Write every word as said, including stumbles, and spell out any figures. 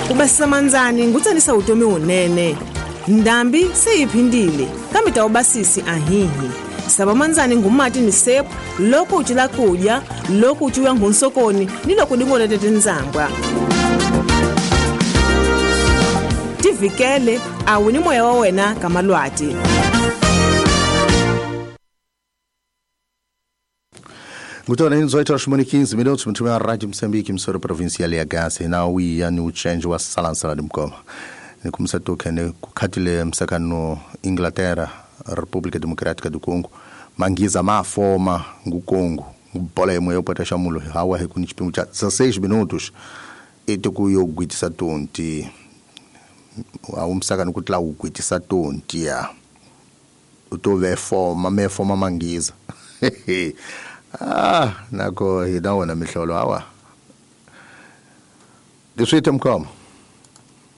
Ku basisa mandzani ngutsanisa vutomi wunene. Ndhambi se yi phindile kambe ta ubasisi ahihi. Sava mandzani ngumati ni sepu loko u cila kudya, loko u ciwa nghunsokoni ni loko dingolete tindzambwa. Tivikele a wu ni moya wa wena ka malwati. Ngutona dezoito horas e quinze minutos, muito bem, a Rádio Moçambique, emissora provincial ya Gaza, na uia ni uchenjo wa salansala de Mkoma. Nikumsa toke ne kukhatile msakano Inglaterra, República Democrática do Congo, mangiza mafoma ngu Congo, bola imwe yopata shamulo hawa hekuni chipimo cha dezesseis minutos ete kuyogwitisa tonti. Awumsakano kutla ugwitisa tonti ya. Utove foma me foma mangiza. Ah, nako hina wona mihlolo hawa. Diswite Mkoma.